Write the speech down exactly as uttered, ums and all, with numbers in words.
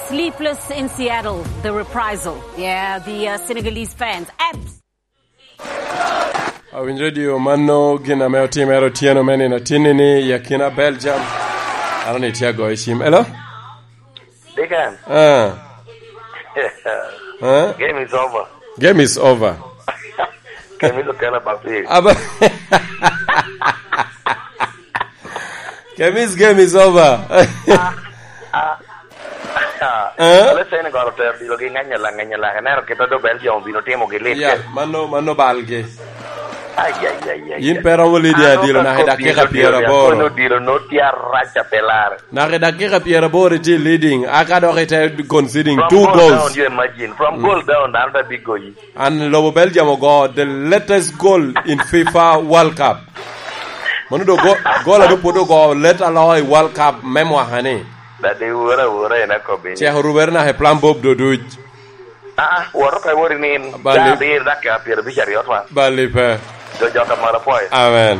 Sleepless in Seattle, the reprisal. Yeah, the uh, Senegalese fans. Abs- Awinyo redio mano gin ame otimere otyeno me nino tinni ni i akina Belgium. Ano ni tye agoyo cim. Hello? Deacon. Ah. Ah? Game is over. Game is over. Game is okay, Baptist. Aba- Kemis game is over. Ah, ah, ah. Eh? Alo Senegal otero dilo gi ng'eny ala, ng'eny ala. Ineno kit a do Belgium obino timo gi lit. Yeah, mano, mano balgi. Ai, ai, ai, ai, yin ai. Pe romo leading adilo naka i dakika pyeraboro. Dilo no tye arac a pe lar. Naka i dakika pyeraboro itye leading, aka dok ite conceding two goals. From goal down, you imagine. From goal down, dano te big goyi. An lobo Belgium ogo the latest goal in fifa World Cup. Mano do go-, goal a do pwod ogo let aloka i World Cup me mwaka ni. Dadi wura wura en akobi. Cek orubere naka i plan bob do duc. Ah, ah, woro ka wori ni in. Bali. Ca abiro dakika pyerabic aryo twa. Bali pe. Jo jok amalo pwoyo. Amen.